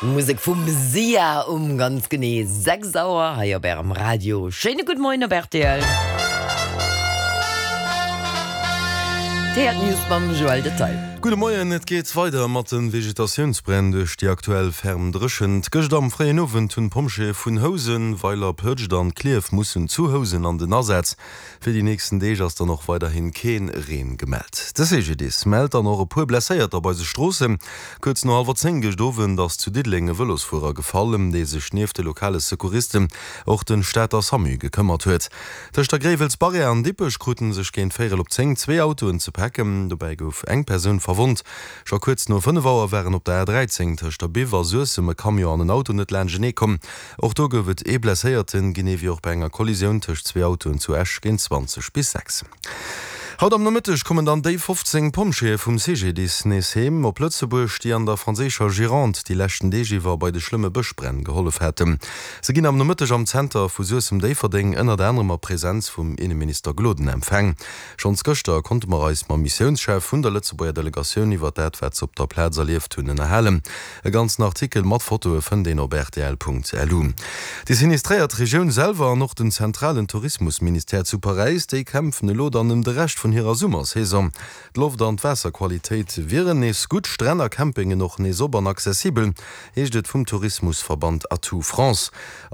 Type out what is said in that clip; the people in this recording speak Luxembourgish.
Musek vum Sia um ganz genee 6 Auer hei op Ärem Radio. Schéine gudde Moien op rtl. D'Héiert News mam Joël Detail. Gudde Moien, et geet weider mat de Vegetatiounsbränn duerch déi aktuell ferm Dréchent. Gëscht am fréien Owend hunn d'Pompjeeë vun Housen, Weiler, Pëtscht an Klierf mussen zu Housen an den Asaz. Fir déi nächsten Deeg ass dann och weiderhi kee Reen gemellt. De CGDIS mellt dann och e puer Blesséierter op eise Stroossen. Kuerz no hallwer 10 gëscht Owend ass zu Diddeleng e Vëlosfuerer gefall, ëm dee sech nieft de lokale Secouristen och de Stater Samu gekëmmert huet. Tëscht der Gréiwelsbarrière an Dippech krute sech géint véierel op 10 zwee Autoen ze packen. Dobäi gouf eng Persoun verwonnt. Scho kuerz no 5 Auer waren op der A13 tëscht der Biff a Suessem e Camion an en Auto net laanschtenee komm. Och do gouf et ee Blesséierten, genee wéi och bei enger Kollisioun tëscht zwee Autoen zu Esch géint 20 bis 6. Haut am Nomëtteg kommen dann déi 15 Pompjeeë vum CGDIS nees heem op Lëtzebuerg, déi an der franséischer Gironde déi leschten Deeg iwwer bei de schlëmme Bëschbränn gehollef haten. Se ginn am Nomëtteg am Zenter vu Suessem-Déifferdeng ënnert anerem a Presenz vum Inneminister Gloden empfaang. Schonns gëschter konnte mer eis mam Missiounschef vun der Lëtzebuerger Delegatioun iwwer dat, wat se op der Plaz erlieft hunn, ënnerhalen. E ganzen Artikel mat Fotoe fënnt een op rtl.lu. Déi sinistréiert Regioun selwer an och den zentralen Tourismusministère zu Paräis, déi kämpfen elo dann ëm de Rescht vun hirer Summersaison. D'Loft an d'Waasserqualitéit wieren nees gutt, Stränn a Campingen och nees op an accessibel, heescht et vum Tourismusverband Atout France.